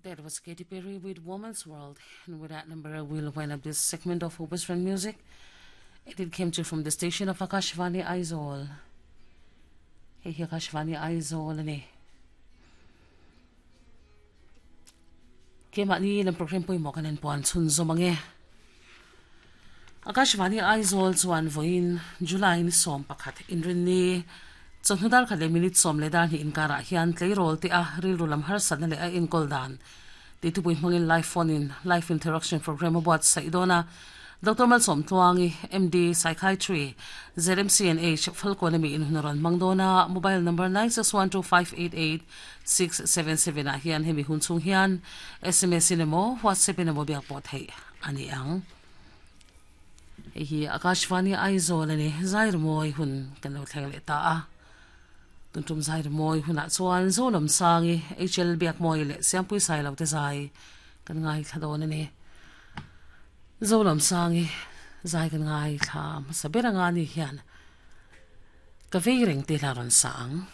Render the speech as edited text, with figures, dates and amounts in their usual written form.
That was Katy Perry with Woman's World. And with that number, we'll wind up this segment of Western Music. And it came to you from the station of Akashvani Aizawl. Hei hi Akashvani Aizawl a ni. Keimahni lam program pawimawh kan inpuan chhunzawm ange. Akashvani Aizawl chuan vawiin July ni 11 inrinni chawhnu dar khat leh minute 10 leh dar hnih inkarah hian tleirawl te a rilru lam harsatna leh a enkawl dan tih thupui hmangin live phone in live interaction program a buatsaih dawn a. Doctor Malsawm Tluangi, MD, Psychiatry, ZMCNH, Falkawn ami in hun a rawn hmang dawn a, mobile number 9612588677 ah hian hemi hun chhung hian sms in emaw WhatsApp in emaw biak pawh theih a ni ang. Hei hi Akashvani Aizawl a ni, Zairmawi hun kan lo thleng leh ta a. Tuntum Zairmawi hunah chuan Zolamsangi, HL Biakmawi leh Siampui Sailo te zai kan ngaithla dawn a ni. Zolamsangi zai kan ngaithla hmasa ber anga ni hian ka vei reng te la rawn sa ang.